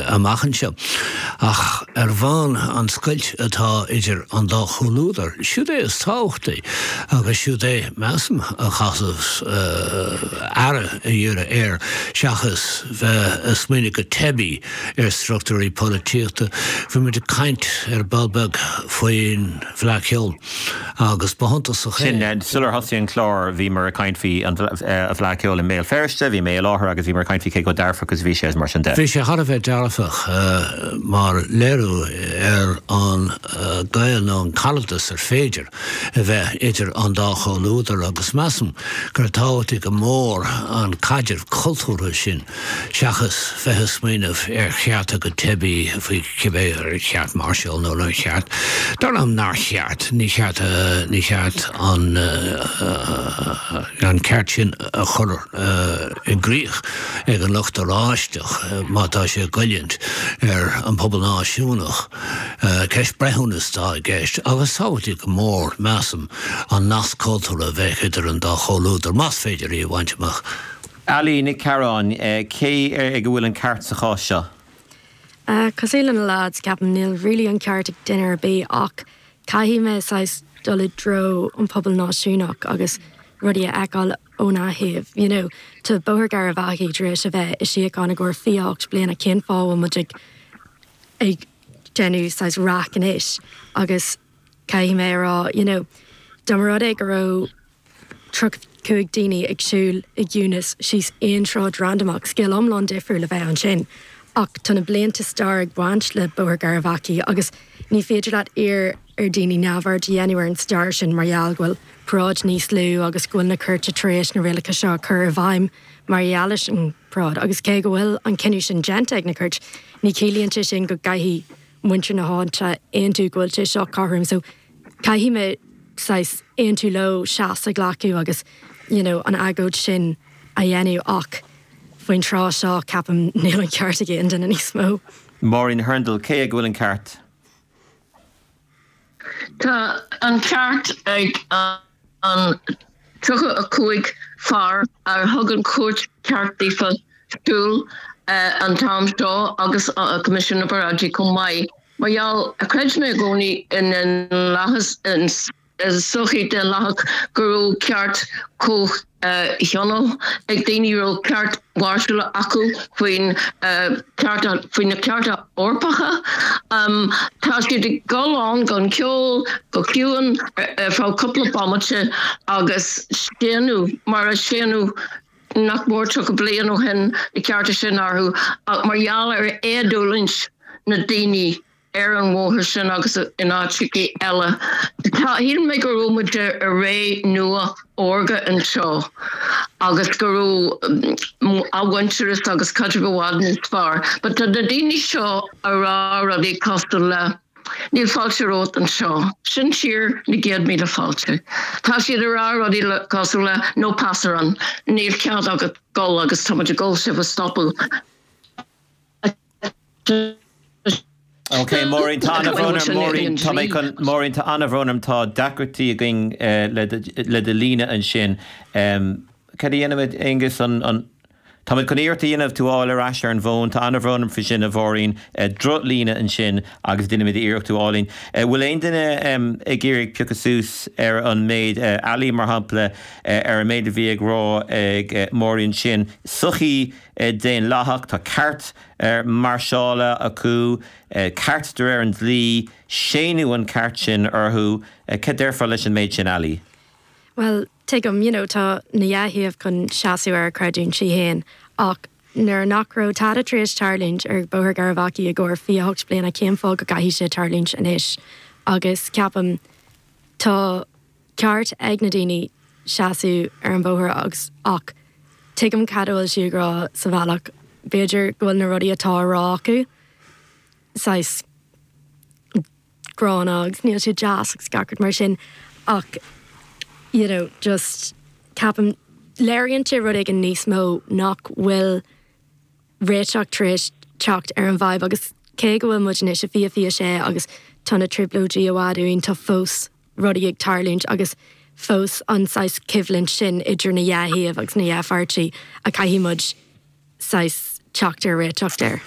amach anseo. Ach ar bhonn an scoilt atá idir an dá chomhluadar, siúd é is tábhachtaí agus siúd é, measaim, a chaithfeas aire a dhíriú air seachas bheith ag smaoineamh go teibí ar struchtúirí polaitíochta. Bhí muid ag caint ar ball beag faoin bhFleadh Cheoil agus ba shuntasach é. Sin, sular thosaigh an clár bhíomar ag caint faoi an Fhleadh Cheoil i mBéal Feirste, bhí mé i láthair agus bhíomar ag caint faoi cé chomh dearfach is a bhí sé agus mar sin de. Bhí sé thar a bheith dearfach mar léiriú ar an gaol nó an caradas ar féidir a bheith idir an dá chomhluadar agus measaim gur tábhachtaí go mór an caidreamh cultúrtha sin seachas bheith ag smaoineamh ar chearta go teibí faoi cibé ar cheart máirseáil nó nár cheart. Dar liom nár cheart. Ní cheart, ní cheart an an ceart sin a chur i gcrích ag an lucht oráisteach má tá sé ag goilliúint ar an bpobal náisiúnach. Ceist breithiúnas atá i gceist agus tábhachtaí go mór, measaim, an nasc cultúrtha a bheith idir an dá chomhluadar, más féidir í a bhaint amach. Ali Nic Cearáin, cé ag a bhfuil an ceart sa chás seo? Cosúil le na lads, ceapaim níl really an ceart ag duine ar bith ach caithfidh mé saghas dul i dtreo an pobal náisiúnach agus rudaí a fheiceáil óna thaobh. You know, tá Bóthar Gharbhachaidh tar éis a bheith i síocháin i gcomhair 28 bliana, cén fáth a bhfuil muid ag ag déanamh saghas raic anois agus caithfidh mé a rá, you know, dá mba rud é go raibh 35 daoine ag siúl i gciúnas síos aon sráid randamach, scéal iomlán difriúil a bheadh ansin. Ach tá na blianta stair ag baint le Bóthar Gharbhachaidh agus ní féidir leat iarr ar daoine neamhaird a dhéanamh ar an stair sin mar gheall go bhfuil paráid níos lú agus go bhfuil na cúirte tar éis na rialacha seo a chur i bhfeidhm mar gheall leis an bparáid. Agus cé go bhfuil an cinneadh sin déanta ag na cúirt, ní chiallaíonn sé sin go gcaithfidh muintir na háite aontú go bhfuil sé seo cothrom. So caithfidh mé saghas aontú leo seasamh a ghlacadh agus you know an agóid sin a dhéanamh ach faoin tráth seo ceapaim níl an ceart ag aon duine níos mó. Máirín Hurndall, Cé ag a bhfuil an ceart? Tá an ceart ag an 35 fear ar thug an chúirt ceart daofa siúl an t-am seo agus Coimisiún na bParáidí chomh maith. Mar gheall, chreid mé i gcónaí i ndaonlathas, i sochaí daonlathach go raibh ceart comhthionóil ag daoine, raibh ceart máirseála acu faoin cearta, faoi na cearta Eorpacha. Tá siad ag dul ann gan ceol, go ciúin, ar feadh cúpla bomaite agus séanadh mar a séanadh nach mór 30 bliain ó shin na cearta sin orthu ach mar gheall ar éadulaingt na daoine ar an bhóthar sin agus in áiteacha eile. Tá, shíl mé go raibh muid i ré nua órga anseo agus go raibh athmhuintearas agus caidreamh i bhfad níos fearr. But tá na daoine seo a rá rudaí cosúil le Níl fáilte romhat anseo. Sin tír na gcéad míle fáilte. Tá siad ag rá rudaí cosúil le no pasarán, níl cead agat dul agus tá muid ag dul sibh a stopadh. Ok, Máirín, tá an-bhrón orm, Máirín, tá mé chun, Máirín, tá an-bhrón orm, tá deacrachtaí againn le le do líne ansin. Cad a dhéanfaimid, Aonghus, an, an, Táimid chun iarracht a dhéanamh tú a fháil ar ais ar an bhfón. Tá an-bhrón orm faoi sin, a Mháirín. Drochlíne ansin agus déanfaimid iarracht tú a fháil. Bhfuil aon duine ag iarraidh piocadh suas ar an méid, Ali mar shampla, ar an méid a bhí ag rá ag Máirín ansin? Sochaí daonlathach, tá ceart máirseála acu, ceart de réir an dlí, séanadh an ceart sin orthu. Cad déarfá leis an méid sin, Ali? Bhuel, tuigim, you know, tá na dhá thaobh chun seasamh ar a creidiúintí féin, ach nuair nach raibh tada tar éis tarlúint ar Bhóthar Gharbhachaidh i gcomhair 28 bliana, cén fáth go gcaithfidh sé tarlúint anois? Agus ceapaim, tá ceart ag na daoine seasamh ar an bhóthar agus, ach tuigim cad a bhfuil siad ag rá sa bhealach, b'fhéidir go bhfuil na rudaí atá á rá acu saghas, gránna agus níl sé deas agus gach rud mar sin ach you know just ceapaim léiríonn sé rud éigin níos mó nach bhfuil réiteach tar éis teacht ar an bhfadhb agus cé go bhfuil muid anois i 2026 agus tá na trioblóidí i bhfad uainn tá fós rudaí ag tarlúint agus fós an saghas coimhlint sin idir na dhá thaobh agus na dhá pháirtí a caithfidh muid saghas teacht ar réiteach air.